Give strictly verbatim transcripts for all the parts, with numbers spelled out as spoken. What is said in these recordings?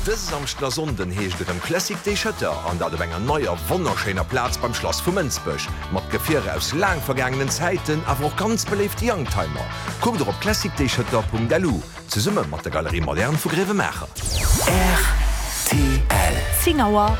Dëse Samschden a Sonnden heescht et erëm Classic Day Schëtter, an dat op enger neier, wonnerschéiner Plaz beim Schlass vu Mënsbech. Mat Gefierer aus laang vergaangenen Zäiten, awer och ganz beléifte Youngtimer. Kuckt och op classicdayschëtter.lu, zesumme mat der Galerie Moderne vu Gréiwemaacher. Rtl. Zéng Auer.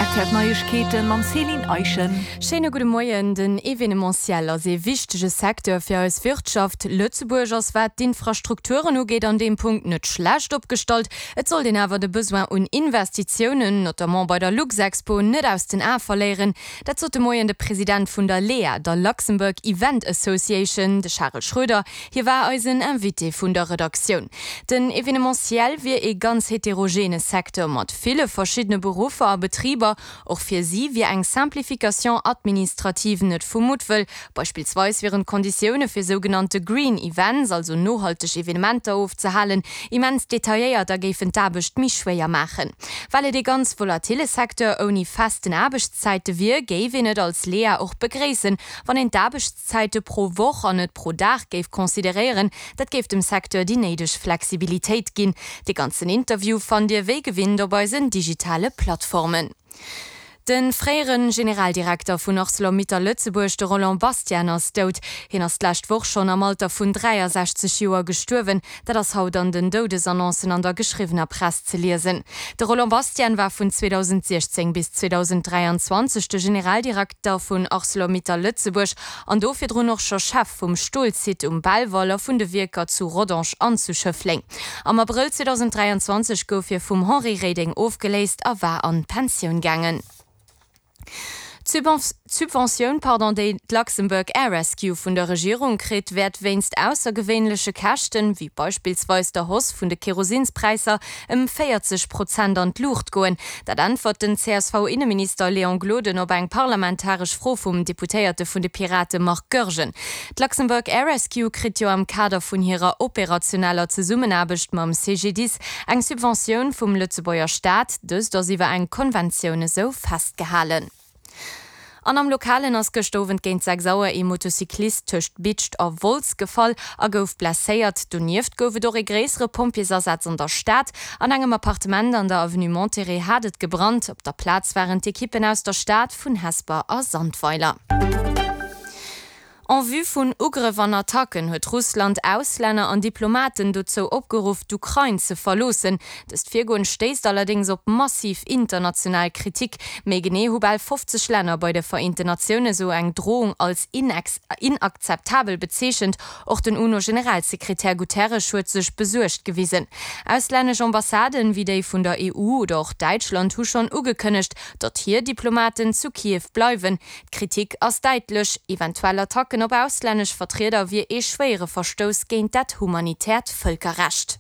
R T L Neiegkeeten mam Céline Eischen. Schéine gudde Moien. Den Evenementiel ass ee wichtege Secteur fir eis Wirtschaft. Lëtzebuerg ass, wat d'Infrastrukturen ugeet, an deem Punkt net schlecht opgestallt. Et sollt een awer de Besoin un Investitiounen, notamment bei der Luxexpo, net aus den Ae verléieren. Dat sot de Moien de President vun der LEA, der Luxembourg Event Association, de Charel Schroeder. Hie war eisen Invité vun der Redaktioun. Den Evenementiel wier ee ganz heterogene Secteur mat ville verschiddene Beruffer a Betriber. Och fir si wier eng Simplification administrative net vu Muttwëll. Beispillsweis wieren d'Konditioune fir sougenannte Green Events, also nohalteg Evenementer ofzehalen, immens detailléiert a géifen d'Aarbecht méi schwéier maachen. Well et ee ganz volatille Secteur ouni festen Aarbechtszäite wier, géif een et als LEA och begréissen, wann een d'Aarbechtszäite pro Woch an net pro Dag géif consideréieren. Dat géif dem Secteur déi néideg Flexibilitéit ginn. De ganzen Interview fannt Dir wéi gewinnt op eisen digitale Plattformen. De fréiere Generaldirekter vun Arcelor-Mittal Lëtzebuerg, de Roland Bastian, ass dout. Hien ass d'lescht Woch schonn am Alter vun dräiasechzeg Joer gestuerwen. Dat ass haut an den Doudesannoncen an der geschriwwener Press ze liesen. De Roland Bastian war vun zweedausendsechzéng bis zweedausenddräianzwanzeg de Generaldirekter vun Arcelor-Mittal Lëtzebuerg an do virdrun och scho Chef vum Stolsite um Belval a vun de Wierker zu Rodange an zu Schëffleng. Am Abrëll zweedausenddräianzwanzeg gouf hie vum Henri Reding ofgeléist a war an d'Pensioun gaangen. D'Subventioun, pardon, déi d'Luxembourg Air Rescue vun der Regierung kritt, wäert wéinst aussergewéinleche Käschten, wéi beispillsweis der Hausse vun de Kerosinspräisser, ëm véierzeg Prozent an d'Luucht goen. Dat äntwert den C S V-Inneminister Léon Gloden op eng parlamentaresch Fro vum Deputéierte vun de Pirate Marc Goergen. D'Luxembourg Air Rescue kritt jo am Kader vun hirer operationeller Zesummenaarbecht mam C G D I S eng Subventioun vum Lëtzebuerger Staat. Dëst ass iwwer eng Konventioun esou festgehalen. An am Lokalen ass gëschter Owend géint sechs Auer ee Motocyclist tëscht Bidscht a Wolz gefall a gouf blesséiert. Donieft gouf et och ee gréissere Pompjeesasaz an der Stad. An engem Appartement an der Avenue Monterey hat et gebrannt. Op der Plaz waren d'Ekippen aus der Stad, vun Hesper a Sandweiler. En vue vun Ugrëff an Attacken huet Russland Auslänner an Diplomaten dozou opgeruff, d'Ukrain ze verloossen. Dëst Virgoen stéisst allerdéngs op massiv international Kritik. Méi genee hu bal fofzeg Länner bei de Vereenten Natioune sou eng Drohung als inakzeptabel bezeechent. Och den UNO-Generalsekretär Guterres huet sech besuergt gewisen. Auslännesch Ambassaden, wéi déi vun der E U oder och Däitschland, hu schonn ugekënnegt, datt hir Diplomaten zu Kiew bleiwen. D'Kritik ass däitlech, Eventuell Attacken op auslännesch Vertrieder wier ee schwéiere Verstouss géint dat humanitäert Vëlkerrecht.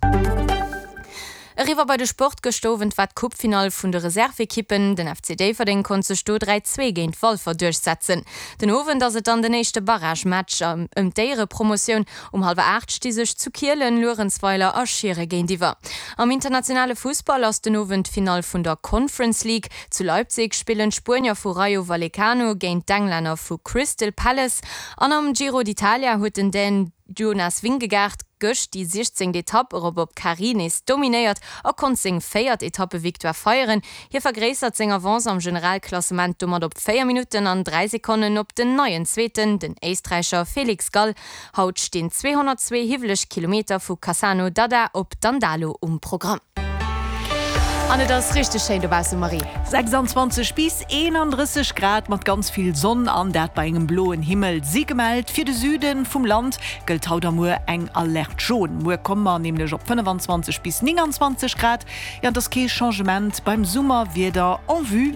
Eriwwer bei de Sport, Gëschter Owend war d'Coupe-Finall vun de Reserve-Ekippen. Den F C Déifferdeng konnt sech do dräi, zwee géint Walfer duerchsetzen. Den Owend ass et dann den éischte Barrage-Match ëm d'Éierepromotioun. Um hallwer aacht sti sech zu Kielen Luerenzweiler a Schiere géintiwwer. Am internationale Fussball ass den Owend d'Finall vun der Conference League. Zu Leipzig spillen d'Spuenier vu Rayo Vallecano géint d'Englänner vu Crystal Palace. An am Giro d'Italia huet den Dän Jonas Vingegaard gëscht déi siechzéngt Etapp erop op Carré nees dominéiert a konnt seng véiert Etappevictoire feieren. Hie vergréissert seng Avance am Generalklassement domat op véier Minutten an dräi Sekonnen op den neien Zweeten, den Éisträicher Felix Gall. Haut stinn zweehonnertzwee hiwweleg Kilometer vu Cassano d'Adda op Dandalo um Programm. An et ass richteg schéin dobausse, Marie. sechsanzwanzeg bis eenandrësseg Grad mat ganz vill Sonn an dat bei engem bloen Himmel si gemellt. Fir de Süde vum Land gëllt haut a muer eng Alerte jaune. Muer komme mer nämlech op fënnefanzwanzeg bis nénganzwanzeg Grad. Jo, an et ass kee Changement beim Summerwieder en vue.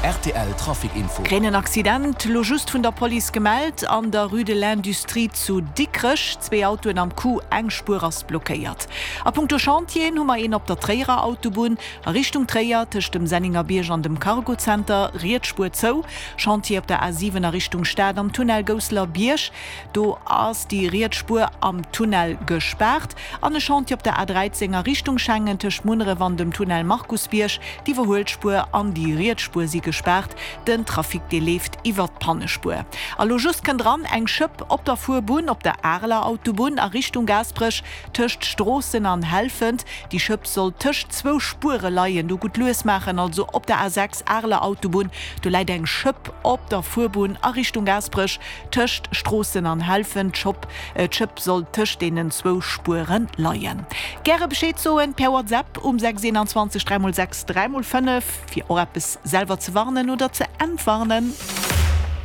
R T L Trafic Info. Kréien en Accident lo just vun der Police gemellt an der Rue de l'Industrie zu Dikrech. Zwee Autoen am Coup, eng Spuer ass blockéiert. A punkto Chantieren hu mer een op der Tréierer Autobunn a Richtung Tréier tëscht dem Sennengerbierg an dem Cargocenter, riets Spuer zou. Chantier op der A siwen a Richtung Stad am Tunnel Gousselerbierg, do ass déi riets Spuer am Tunnel gespaart. An e Chantier op der A dräizéng a Richtung Schengen tëscht Munneref an dem Tunnel Markusbierg, d'Iwwerhuelspuer an déi riets Spuer si gespaart. gespaart, den Trafic dee leeft iwwert d'Pannespuer. A lo just kënnt dran, eng Schëpp op der Fuerbunn op der Areler Autobunn a Richtung Gaasperech tëscht Stroossen an Helfent. Déi Schëpp soll tëscht zwou Spuere leien, do gutt lues maachen. Also op der A sechs Areler Autobunn, do läit eng Schëpp op der Fuerbunn a Richtung Gaasperech tëscht Stroossen an Helfent. D'Schëpp soll tëscht deenen zwou Spuere leien. Gäre Bescheed soen per WhatsApp um sechs eenanzwanzeg dräi mol sechs dräi mol fënnef, fir och eppes selwer ze warnen oder ze entwarnen.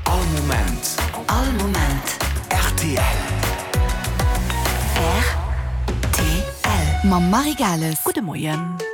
All Moment. All Moment. Rtl. Rtl. Mam Marie Gales. Gudde Moien.